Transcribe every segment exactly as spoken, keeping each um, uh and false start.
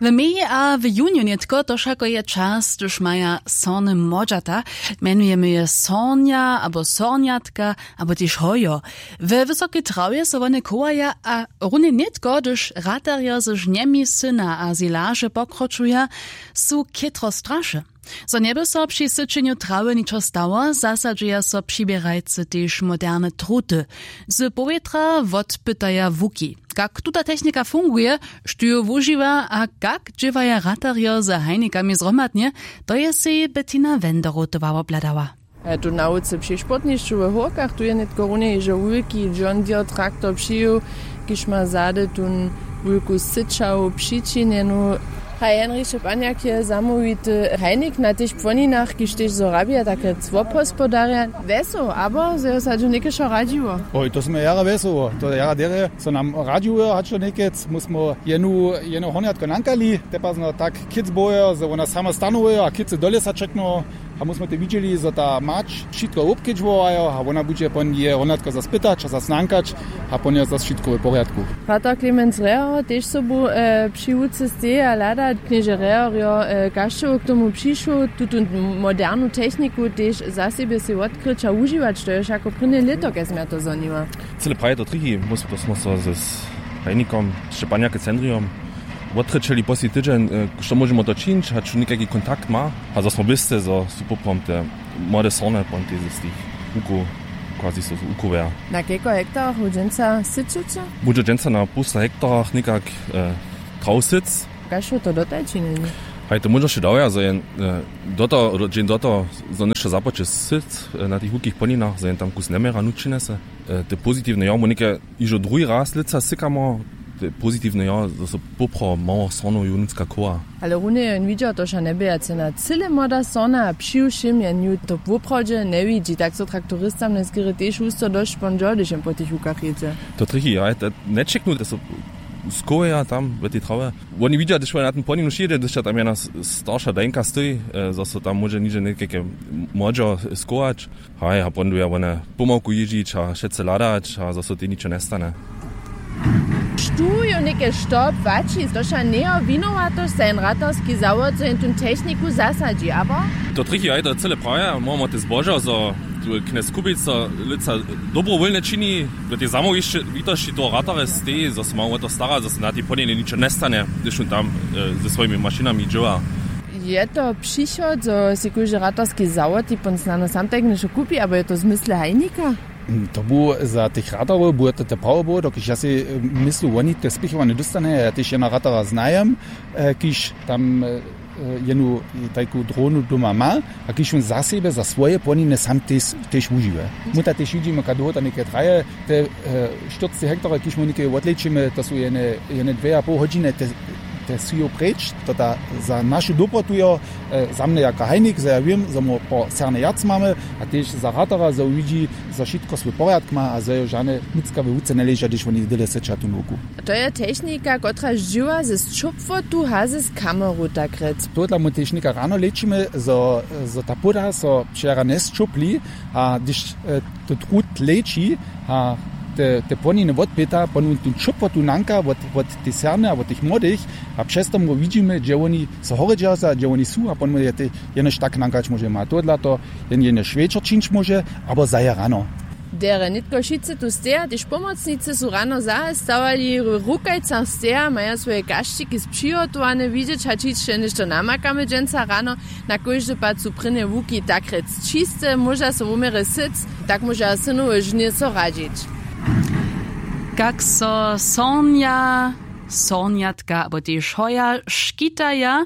W meji a w junju nětko to wšako je čas, hdyž maja sorny młodźata. Mjenujemy je sornja abo sornjatka abo tež hojo. We wysokej trawje so wone chowaja a runje nětko, hdyž ratarjo z žnjemi syna a zilaže pokročuja, su chětro straše. Zo njeby so při syčenju trawy ničo stało, zasadźuja so přiběrajcy tež moderne truty. Z powětra wotpytaja łuki, kak tuta technika funguje, štó ju wužiwa a kak dźěłaja ratarjo z hajnikami zhromadnje. To je sej Bettina Wenderotowa wobhladała. A tu na wuce při sportnišću w Hórkach, tu je nětko runje hižo wulki John Deere traktor přijěł, kiž ma zady tón wulku syćawu přičinjenu. Haj, Henriše Panjak je zamołwity hajnik na tych płoninach, kiž tež zo rabija, tak rjec wobhospodarja. Wjesoł abo zo jo sadźu někešo radźiło? Oj, to smy jara wjesoło, to jara derje so nam radźiło, hač to někec my smy jenu jeno hornjatko nankali, te pazno tak kěc bojo zo wona sama stanowajo a kěc dole sa čekno. A my smy te widźeli zo ta mać wšitko wobkedźbowajo a wona budźe pon je hornjatko zas pytać a zas nankać, a pon je zas wšitko w porjadku. Pater Clemens Reher tež sobu při łuce steji a hlada. Knježe Reher jo kašćeł k tomu přišoł, tutu modernu techniku tež za sebje sej wotkryć a wužiwać, to je wšako prěnje lěto, kaž smy ja to zhoniła. Cyle praje to trichi, my smy to smy so z hajnikom Šćepanjake Cendrijom wotrěčeli posli tydźeń, što móžemo to čińć, hač někajki kontakt ma. A zo smy wěsce zo su poprawom te młode sorne pon tež z tych łukow, quasi so łukoweja. Na kelko hektarach wy dźensa syćeće? Budźe dźensa na połsta hektarach někak traw syc. Kaž su to dotal činili? Haj, to móžno wšě dawja zo jen do toho dźeń do toho zo něšto započe syc na tych łukich płoninach, zo jen tam kus njeměra nutřinese. Te pozitiwne jo my něke hižo druhi raz lětsa sykamo. Te pozitiwne jo zo so poprawom mało sornow jónutska chowa. Ale runje jen widźał to wša njebě ja cena cyle młoda sorna a přiwšěm jen ju to woprawdźe njewidźi, tak so traktoristam njeskěry tež husto dosć pon dźo hdyž jen po tych łukach jědźe. To trichi ja to nječeknu te so skoweja tam w tej trawje. Woni widźa hdyž wone na tym płoninu šědźe hdyž tam jena starša dajnka stoji, zo so tam móže nižo někajke młodźo skować. Haj, a pon duja wone pomałku jězdźić a wšetcy hladać a zo so tej ničo njestane. Štó jo něke što płaći, to wša njejo winowatosć za jen ratarski zawod zo jen tón techniku zasadźi abo? To trichi haj to cyle prawje, móhamo te zbožo zo tu knjez kubic so lětsa dobrowólnje čini. W tej zamołwitosći toho ratarja steji zo so mało wo to stara zo so na tej płoniny ničo njestanje hdyž wón tam ze swojimi mašinami dźěła. Je to přichod zo sej kóždy ratarski zawod tipon snano sam tajk něšto kupi abo je to w zmysle hajnika? To bu za tych ratarjow bu to te prawo było dokelž ja sej myslu woni te spěchowane dóstane ja tež jena ratara znajem, kiž tam jenu tajku dronu doma ma, a kiž wón za sebje za swoje płoniny sam tež wužiwje. Muta tež widźimy ka dołho to něke traje. Te štyrcci hektarjow kiž mu něke wotlečimy to su jene dwě a poł hodźiny. Te su jo preč to ta za našu dobrotu jo. Za mnje jako hajnik zo ja wěm zo mu po serne wjac mamy, a tež za ratara zo widźi zo wšitko swój porjadk ma a zo jo žane nutřka we wuce njeleža hdyž woni dyle syća tu nowku. To je technika kotraž dźěła ze sćopłotu haze z kameru tak rjec. Tohodla my tež něka rano lečimy zo ta płóda so wčera njesćopli, a hdyž to trud leči a te płoniny wotpyta pon wón tu sćopłotu nanka wot tej serne a wot tych młodych, a přez to my widźimy hdźe woni so horjedźerza hdźe woni su a pon my je tej jenož tak nankać móžemy a tohodla to jen jenož wječor čińć móže abo zahe rano. Derje nětko wšitcy tu steja tež pomocnicy su rano zahe stawali w rukajcach steja maja swoje kašćiki spřihotowane widźeć hač hišće něšto namakamy dźensa rano. Na kóždy pad su prěnje łuki tak rjec čiste móža so wuměrje syc, tak móža synowe žnje so radźić. Kak so sornja sornjatka abo tež hoja škitaja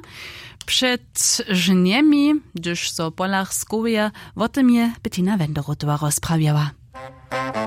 před žnjemi hdyž so w polach skoweja, wo tym je Bettina Wenderotowa rozprawjała.